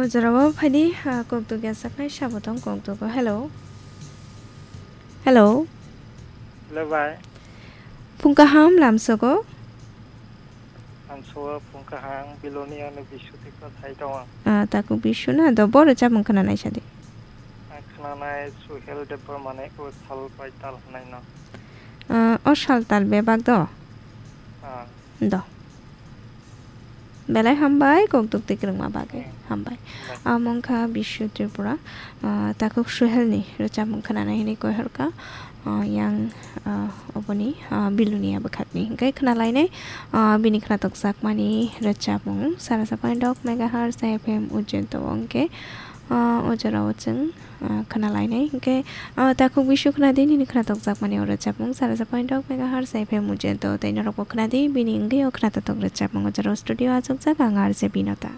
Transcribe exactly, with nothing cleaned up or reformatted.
Jorao phaidi, ah, kokduk ya saknai sabo tong kokdugo. Hello. Hello. Hello, bai. Phung kaham lamsogo. Lamsogo phung kaham, Biloni ano Bishu Tripura thai tongo. Ah, taku Bishu na, do boro chamung khna nai sadi. Ang khna nai Suhel Debbarmane o sal pai tal hwnai no. Ah, o sal tal bebak do? Ah. Do. Belai hambai, kokduk twi kwrwngma bagwi. Hmm. Hambai. Bai. Amo wngkha Bishu Tripura, ah, takhuk Suhelni rwchapmung khwnanai hwnwi koi horkha, ah, yang, ah, oboni, ah, Bilonia bwkhakni. Hwnkhe khwnalainai, ah, bini khwnatok jakmani rwchapmung, sara sa point dok megahertz F M Ujjain to wngkhe, ah, o jorao chwng, ah, khwnalainai. Hwnkhe, ah, takhuk Bishu khwnadi nini khwnatok jakmani o rwchapmung, sara sa point dok megahertz F M Ujjain to, tei norokbo khwnadi bini wngwi o khwnatotok rwchapmung. O jorao studio achukjak ang R J Binota.